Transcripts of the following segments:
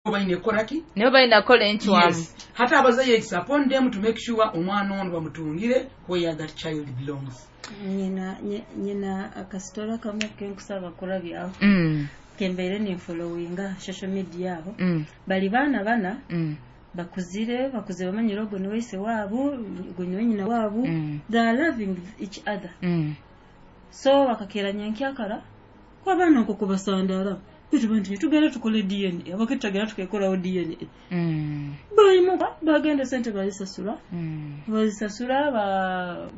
Baine kukola ki? Nibo balina kukola encwamu. Yes. Hati abazaire, it's upon them to make sure omwana ono bamutungire where that child belongs. Nyina akasitora kamwe kenkusaba kurabyaho, kembeire ninfollowinga social media aho. Bali baana bana, bakuzire, bamanyire ogu niwe ise waabo, ogu niwe nyina waabo. They are loving each other. So bakakeranya nkyakara kwabaana nko kubasandara bitu nti tugenda tukole DNA, abake tutagenda tukekoraho DNA. Bayimuka bagenda, sente bazisasula, bazisasula ba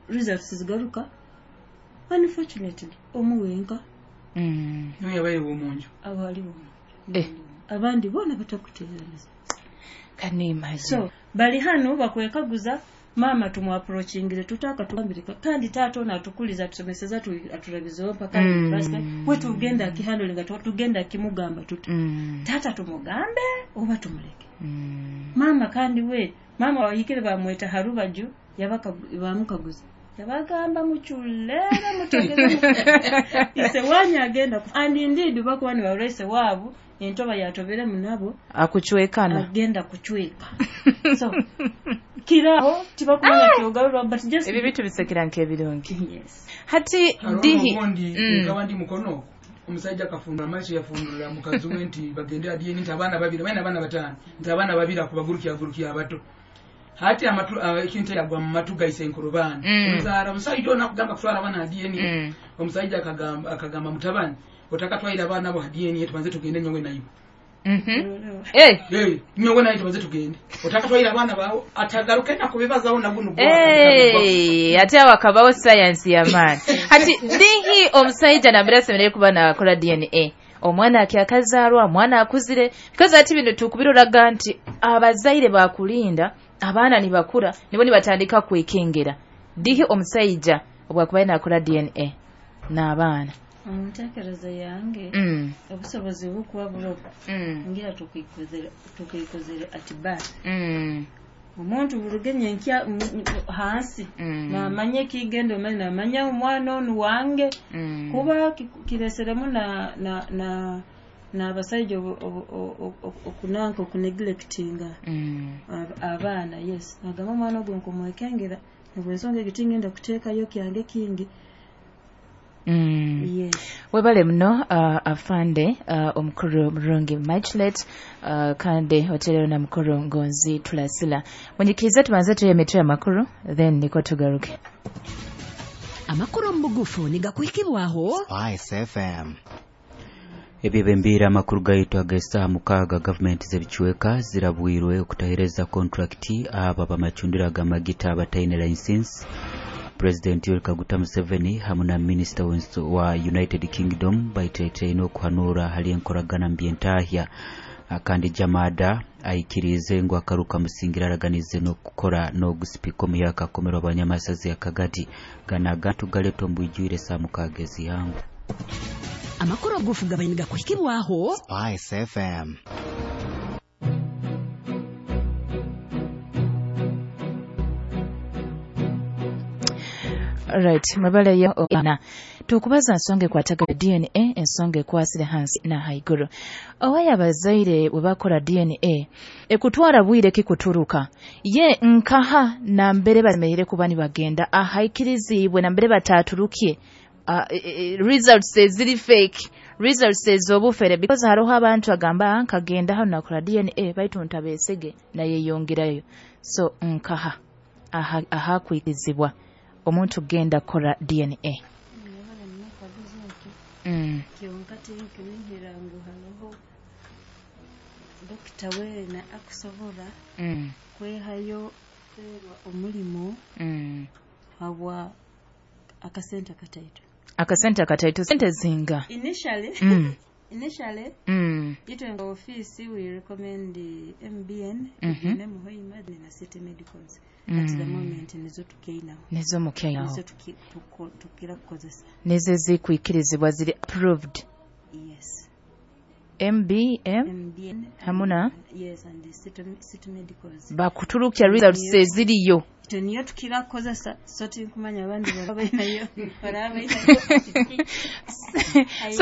results zigaruka. Unfortunately, omu wenka niwe yabaire womunju. Abo aliwo, Eh. abandi bona batakuteeraniza. Can you imagine? So bali hano bakwekaguza maama tumwapproachingire tutaka tugambire, kandi taata ono atukuliza, atusomeseza, atulabizeho mpaka university. We tugenda akihandlinga, tugenda akimugamba tuti, taata tumugambe oba tumuleke? Maama kandi we maama wahikire bamweta harubaju, bamukaguza, yabagamba muculere mutegeze ise wanyu agenda and indeed bakuba nibarora ise waabo entoba yatoberemu nabo. Akucwekana. Agenda kucweka, so kiraho tibakumanya kyogarura, but just Ebi bitu bisekera nk'ebirungi. Yes. Hati hariho dihi obundi nkaba ndi mukono okwo, omusajja akafundura amaiso, yafundurira mukazi we nti bagende adiyeni, nti abaana babiri balina, abaana bataano, nti abaana babiri akubagurukya abato. Hati amatu ekintu yagwa mu matu gaise enkorobaani. Omuzaara omusajja ono akugamba kutwara abaana DNA. Omusajja akagamba mutabani, otakatwaire abaana bo ha DNA, tubanze tugende nyowe naiwe. Eh. Hey, nyowe naye tubanze tugende, otakatwaire abaana bawe atagaruke nakubibazaho naguno. Hey, ate awo akabawo sayansi y'amaani. Hati dihi omusajja nambere asemereire kuba nakola DNA omwana akyakazaarwa, omwana akuzire? Because ati bino tukubiroraga nti abazaire bakulinda abaana nibakura nibo nibatandika kwekengera. Dihi omusajja obwakubaye nakola DNA n'abaana? Mu ntekereza yange, obusobozi bukuba burogo, ngira tukikozere at birth. Omuntu burugenye nkya hansi, namanya ekigenda omanye, namanya omwana onu wange. Kuba kireseremu na n'abasajja okunanka okuneglectinga abaana. Yes, nagamba omwana ogwo nkumwekengera nibwensonga egyo tingenda kuteekayo kyange kingi. Yes. Webale muno, afande omukuru Murungi Michelet, kandi oterero na mukuru Ngonzi Tulasila. Munyikirize tubanze tuye emitwe y'amakuru, then niko tugaruke. Amakuru mu bugufu nigakuhikibwaho Spice FM. Ebyebembiire amakuru gaitu ag'esaaha 6. Gavumenti z'ebicweka zirabwirwe okutahereza kontrakiti abo abamacundiro ag'amagita abataine license. Pulezidenti Yoweri Kaguta Museveni hamu na minisita wa United Kingdom baiteteine okuhanura hali enkoragana mu byentahya. Kandi Jamada aikirize ngu akaruka musingira araganize n'okukora n'ogusipika omuyaka akomerwa abanyamasazi akagati ganaga tugaleta ombwijwire saa 6 ezihangu. Amakuru agufu gabaye nigakuhikibwaho Spice FM. Right, mwebaleyo na tukubaza nsonga ekwatagana DNA, ensonga ekwasire hansi na haiguru. Owaye abazaire bwe bakora DNA ekutwara bwire kikuturuka ye nkaha nambere basemereire kuba nibagenda ahaikirizibwe nambere bataturukie results eziri fake, results ez'obufere? Because hariho abantu agamba, "Ah, nkagenda hano nakora DNA baitu ntabesege nayeyongerayo." So nkaha ahakwikirizibwa omuntu kugenda kukora DNA? Nyabara nakaguzo ekyo. Kyonka tinkunihira ngu hariho dokita weena akusobora kwehayo kuferwa omulimo habwa akasente akataito. Akasente akataito, sente zinga? Initially, initially itwe nga office we recommend the MBN, mm Hoima na City Medicals. At the moment nizo tukeinaho. Nizo mukeinaho. Nizo tukira kukozesa. Nizo zikwikirizibwa, ziri approved? Yes. MBM MBN hamuna yes, and the City Medicals. Bakuturukya results eziriyo. Itwe niyo tukira kukozesa, so tinkumanya abandi baraba bainayo baraba bainayo. So